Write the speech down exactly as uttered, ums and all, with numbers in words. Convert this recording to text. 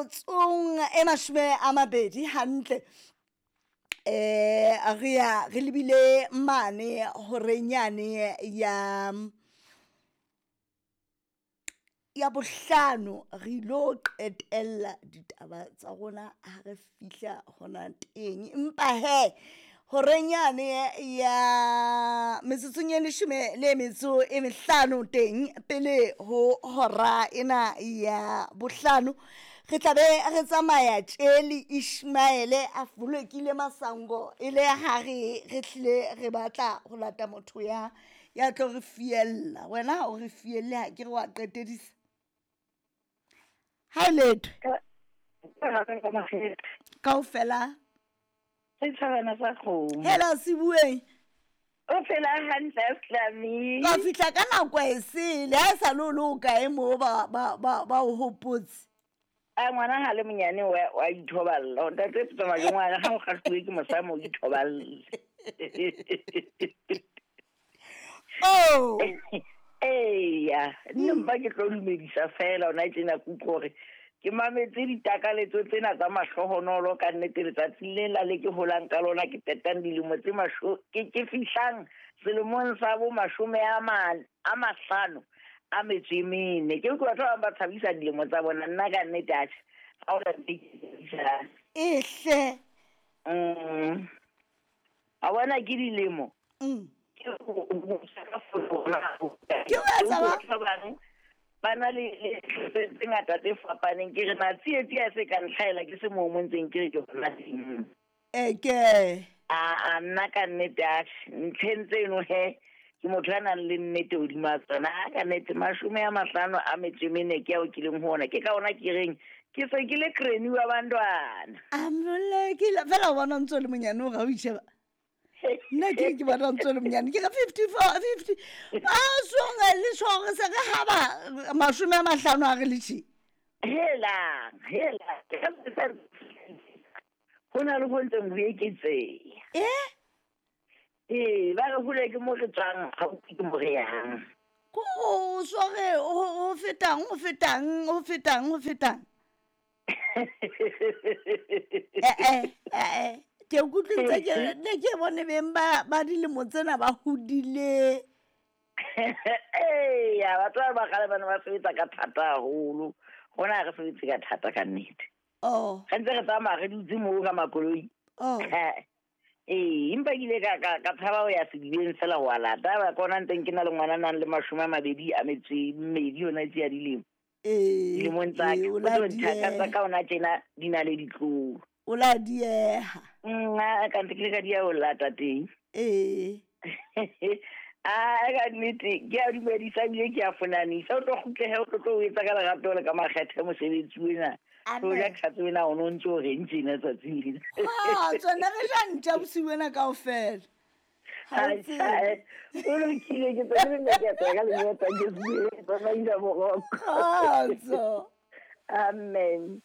Metsotsong e mashome a mabedi hantle eh re ya re lebile mane horeng yane ya ya bohlano, re ilo qetella ditaba tsa rona ha re fihla hona teng. Empa he horeng yane ya metsotsong e leshome le metso e mehlano teng pele ho hora ena ya bohlano, re tla be re tsamaya tje le Ishmaele a folekile masango e le ha re re hlile re batla ho lata motho ya ya tlo re fiella. Wena ha o re fielle, ha ke re wa qetedisa ha e letho kaofela. Setjhabana sa kgomo. Hela Sebueng. O phela hantle Slami. Ka fihla ka nako e sele, ha e sa le o le o kae moo ba ba ba ba o hopotse. A ngwana ha le monyane wa wa ithoballa. Ntate tsamaya ke ngwana ha o kgahluwe ke mosamo o ithoballa. Oh. Eya, nna mpa ke tlo dumedisa fela ona tjena ke utlwe hore ke mametse ditakaletso tsena tsa mahlohonolo ka nnete letsatsing le la le ke holang ka lona, ke qetang dilemo tse masho ke ke fihlang selemong sa bo mashome a mane a mahlano a metso e mene. Ke utlwa batho ba bang ba tshabisa dilemo tsa bona, nna ka nnete atjhe ha hona ntho e ke e tshabisang. Ehle. Mm. A bona ke dilemo. Mm. Ke ho Ke ho etsa ba? Batho ba bang ba na le le tse tse ngata tse fapaneng. Ke re na tsietsi ha se ka ntlhaela ke se moo mo ntseng ke re ke hona teng. Eke. A a nna ka nnete atjhe ntlheng tseno he ke motho ya nang le nnete hodima tsona. A ka nnete mashome a mahlano a metso e mene ke ao ke leng ho ona. Ke ka ona ke reng ke se ke le granny wa bantwana. Amolekile fela o bona o ntso le monyane o ga o itjheba. Nna ke ke bona o ntso le monyane ke re fifty-four, fifty. A songa le tshware se re haba mashome a mahlano a re le tjhe. Helang, helang. Ho na le ho ntseng ho eketseha. Eh? Ee, ba re hole ke mo re tswang, gaufi ke mo re yang. Ko o sware ho ho fetang, ho fetang, ho fetang, ho fetang. Eh, eh, eh, eh. Ke utlwile ke ne ke bone beng ba ba dilemo tsena ba hodile. Eya, batho ba ba kgale ba ne ba sebetsa ka thata haholo. Rona ha re sebetse ka thata ka nnete. Oh. Re ntse re tsamaya re dutse moo ka makoloi. Oh. Ee, empa ke ile ka, ka, ka tshaba ho ya sedibeng fela ho a lata. Ba ka ona ntseng ke na le ngwana a nang le mashome a mabedi a metso e mmedi yona tse ya dilemo. Ee, Dilemong tsa ee, ka. o O la tlo nthaka tsa dieha. ka ona tjena di na le ditlolo. O la dieha. Mm, a ka ntse ke le ka dia ho lata teng. Ee. A ka nnete ke a dumedisa ebile ke a fonanisa. O tlo kgutlehe, o tlo tlo o etsa ka lerato le ka makgethe mosebetsi ona. Amen. O ja tlhatso ena o no ntso o reng tjena tsatsing lena. Kgotso, ne re ja ntja bosiu bona kaofela. Ha o Ai, tsebe. ai, o lokile, ke tsebe nna ke a tswa ka lenyatsa, ke tsebe, ke tsamaisa boroko. Kgotso. Amen.